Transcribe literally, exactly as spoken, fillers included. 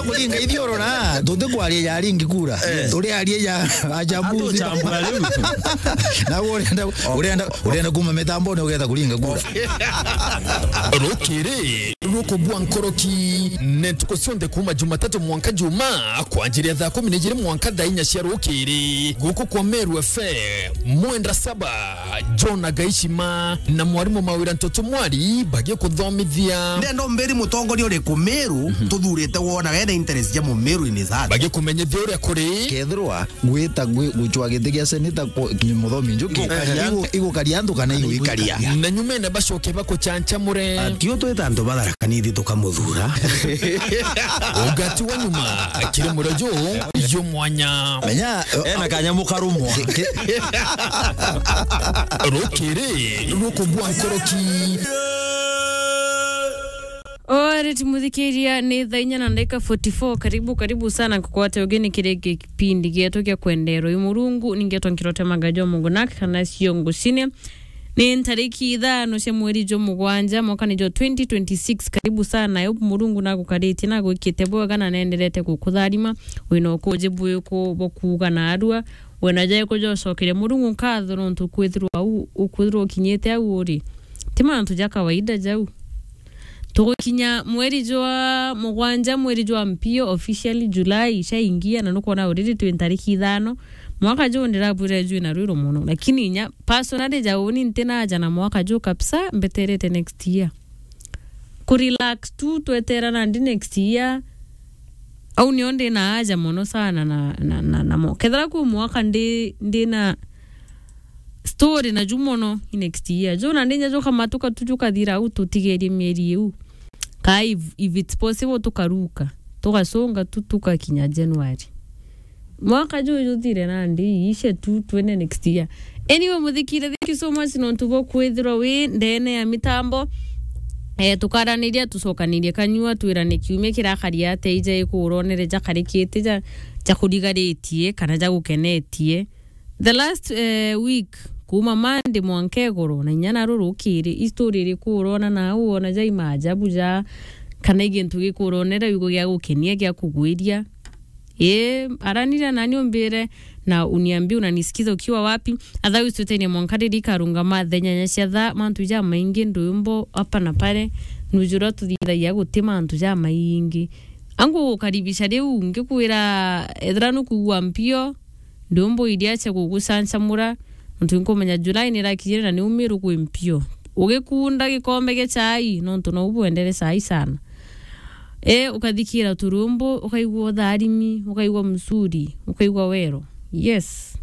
Kuringa ithioro na, tuti kwaria ya ringi kura. Turi aria ya ajabuzi. Atuchambura riu. Na urenda, urenda, urenda kuma mitambone ugetha kuringa kura. Rukiri rukubua nkoroki, ni ntuku cionthe kuma Jumatatu mwanka Juma, kwanjiria thaa kumi na ijiri mwanka thaa inya cia rukiri. Guku kwa Meru F M, mwenda saba, John Agaishima na mwarimu Mawira Ntoto Mwari bagikuthomithia. Ndenda umbiri mutongoria uriku Meru tuthurite wona wena interest ja Mumeru in his heart? Bagikumenyithia uria kuri. Kethirwa gwita gwi-, gucwa giti gia seneta ku-, ki-, Muthomi Njuki, Igukaria. Igu-, igukaria antu kana iguikaria? Na nyumene bacoke bakuchanchamure. Atio twita antu ba Tharaka Nithi tukamuthura. Ugati wa nyuma, kiri murojo, yo mwanya. Menya, ena kanyamu karumwa. Ki-, ki-, Rukiri rukubua nkoroki. Alright, muthikiria, ni thaa inya na ndagika forty-four. Karibu, karibu sana kukwate ugeni kiri gipindi gietu gia kwenderwa i Murungu. Ningetwa Nkirote Magajo Mugunak kana cio ngucine. Ni ntariki ithano cia mweri jwa mugwanja, mwaka ni jwa twenty twenty-six. Karibu sana. I hope Murungu nagukaritie, nagwikite bwega na nenderete gukutharima. Wina ukuji bwiku bwa kuuga na arua. Wina jaiko jocokeria Murungu nkatho nontu kwithirwa au, ukwithirwa ukinyite au uri. Ti mantu ja kawaida jau. Tugukinya mweri jwa mugwanja, mweri jwa mpio, officially July, caingia, na nukwona already twi ntariki ithano. Mwaka juu ndirabwire jwina rwiru mono, lakini inya personally jau ni ntina aja na mwaka juu kabisa, mbeterete next year. Kurelax tu, twetera nandi next year. Au nio ndina aja mono sana na, na, na, na mo. Kethira kwi mwaka ndi, ndina story na ju mono i next year. Ju nandi inya jukamatuka tu jukathira au tutigerie mieri iu. Ka if, if it's possible tukaruka, tugasonga tu tukakinya January. Mwaka juju juthire nandi, iishe tu, twende next year. Anyway, muthikire, thank you so much nontu bwa kwithirwa wi ndene ya mitambo. Eh, tukaraniria, tucokanirie kanyua, twirane kiumia kirakari atia, ija ikuuronere jakarikite, ja, jakurigaritie, kana jagukenetie. The last, eh, week, kuma Monday mwanka igoro, na inya naru rukiri, i story iriku urona nau, wona jai maajabu ja, kana i gintu gikuronera wigo gia gukenia, gia kugwiria? Ii, aranira nani umbire na uniambie unanisikiza ukiwa wapi. Otherwise, twitenie mwanka riri ikarungama thaa inyanya cia thaa, mantu jamaingi, ndwimbo hapa na pale, nujura tuthithagia guti mantu jamaingi. Angu gukaribisha riu, ngikwira ethira nukwigua mpio, ndwimbo iria cia gugucancamura, nontu nkumenya July nirakinyire na niumiru kwi mpio. Ugikunda gikombe gia chai, nontu nou bwendere chai sana. E, ukathikira turumbu, ukaigua utharimi, ukaigua msuri, ukaigua wero. Yes.